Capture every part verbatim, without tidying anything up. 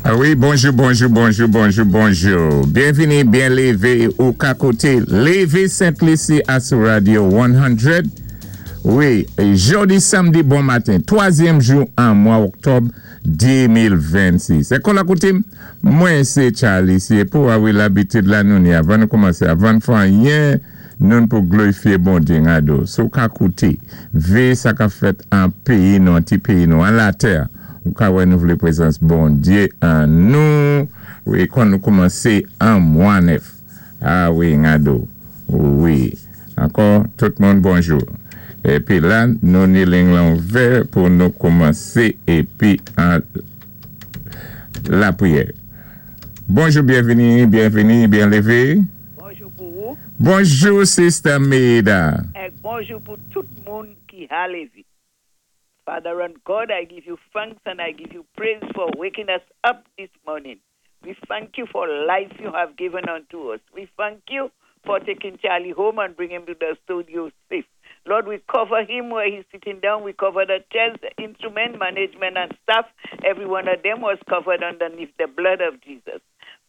Ah wi, bonjou, bonjou, bonjou, bonjou, bonjou. Byenvini, byen lévé ou ka kouté Lévi Sent Lisi a sou Radio san. Wi, jòdi samdi bon maten, twazyèm jou an mwa oktòb de mil vennsis. É kon lakoutim, mwen sé Charlie, sé pou ah wi labitid la nou ni avan nou koumansé, avan fè anyen, nou pou glorifié Bondyé ngado. Sou ka kouté, vé sa ka fèt an péyi nou, an ti péyi nou, an latè. Ou ka wè nou vlé pwézans Bondyé an nou. Wi, kon nou koumansé an mwa nèf. Ah wi, ngado. Wi. Ankò, tout moun bonjou. Épi la, nou ni ling lan ouvè pou nou koumansé épi an lapriyè. Bonjou, byenvini, byenvini, byen lévé. Bonjou pou ou. Bonjou, Sister Mida. É bonjou pou tout moun ki a Lévi. Father and God, I give you thanks and I give you praise for waking us up this morning. We thank you for life you have given unto us. We thank you for taking Charlie home and bring him to the studio safe. Lord, we cover him where he's sitting down. We cover the chairs, the instrument, management, and staff. Every one of them was covered underneath the blood of Jesus.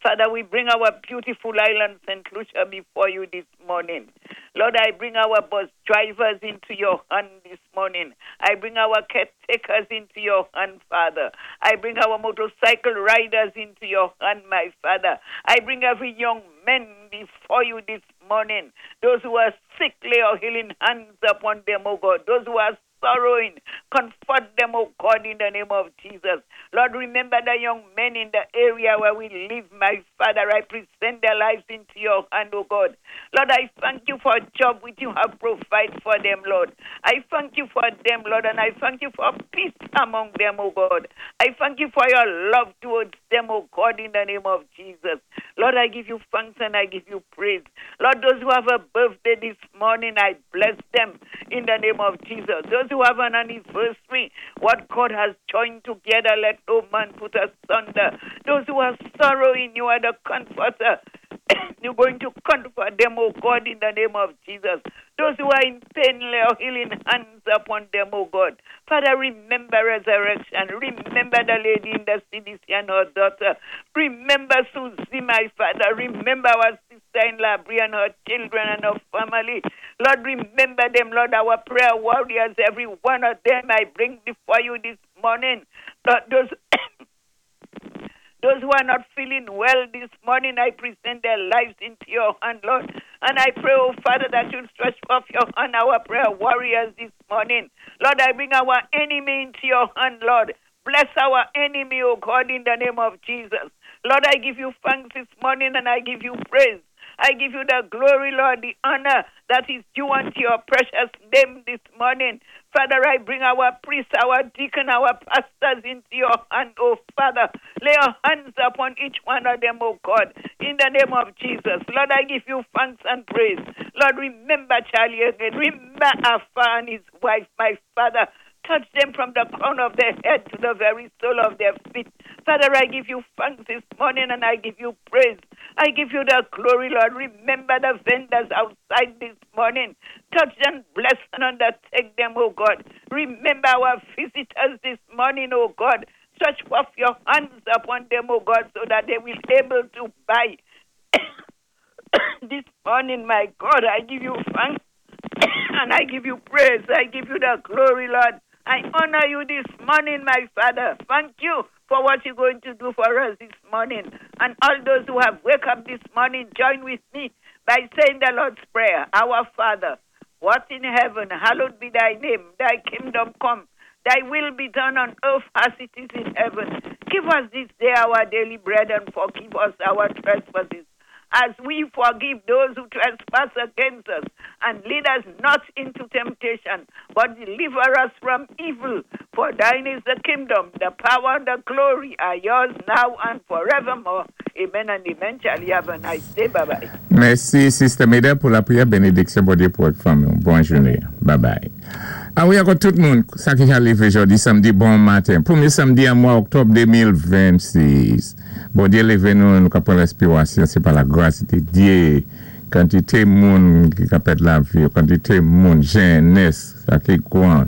Father, we bring our beautiful island, Saint Lucia, before you this morning. Lord, I bring our bus drivers into your hand this morning. I bring our caretakers into your hand, Father. I bring our motorcycle riders into your hand, my Father. I bring every young man before you this morning. Those who are sick, lay your healing hands upon them, O God. Those who are sorrowing, comfort them, O God, in the name of Jesus. Lord, remember the young men in the area where we live, my Father. I present their lives into your hand, O God. Lord, I thank you for a job which you have provided for them, Lord. I thank you for them, Lord, and I thank you for peace among them, O God. I thank you for your love towards them, O God, in the name of Jesus. Lord, I give you thanks and I give you praise. Lord, those who have a birthday this morning, I bless them in the name of Jesus. Those who have an anniversary, what God has joined together, let no man put asunder. Those who are sorrowing, you are the comforter. You're going to comfort them, oh God, in the name of Jesus. Those who are in pain, lay your healing hands upon them, oh God. Father, remember Resurrection. Remember the lady in the C D C and her daughter. Remember Susie, my Father. Remember our sister in Labrie and her children and her family. Lord, remember them, Lord, our prayer warriors, every one of them I bring before you this morning. Lord, those Those who are not feeling well this morning, I present their lives into your hand, Lord. And I pray, oh Father, that you'll stretch forth your hand, our prayer warriors this morning. Lord, I bring our enemy into your hand, Lord. Bless our enemy, oh God, in the name of Jesus. Lord, I give you thanks this morning and I give you praise. I give you the glory, Lord, the honor that is due unto your precious name this morning. Father, I bring our priests, our deacon, our pastors into your hand, oh Father. Lay your hands upon each one of them, oh God, in the name of Jesus. Lord, I give you thanks and praise. Lord, remember Charlie again. Remember Alpha and his wife, my Father. Touch them from the crown of their head to the very sole of their feet. Father, I give you thanks this morning and I give you praise. I give you the glory, Lord. Remember the vendors outside this morning. Touch them, bless and undertake them, oh God. Remember our visitors this morning, oh God. Stretch forth your hands upon them, oh God, so that they will be able to buy this morning, my God. I give you thanks and I give you praise. I give you the glory, Lord. I honor you this morning, my Father. Thank you for what you're going to do for us this morning. And all those who have wake up this morning, join with me by saying the Lord's Prayer. Our Father, what in heaven, hallowed be thy name. Thy kingdom come. Thy will be done on earth as it is in heaven. Give us this day our daily bread and forgive us our trespasses as we forgive those who trespass against us. And lead us not into temptation, but deliver us from evil. For thine is the kingdom, the power, and the glory are yours now and forevermore. Amen and amen. Charlie, have a nice day. Bye bye. Mèsi, Sister Meda, pou lapriyè benediksyon Bondyé pou fanmi. Bòn jounen. Bye bye. Ah wi, ankò tout moun, sa ki lévé jòdi samdi, bon maten. Pwémyé samdi an mwa oktòb de mil vennsis. Bondyé lévé nou, nou ka pran réspirasyon, sé pa lagras di Dye. Kantité moun ki ka pèd lavi, kantité moun, jènès, sa ki gran,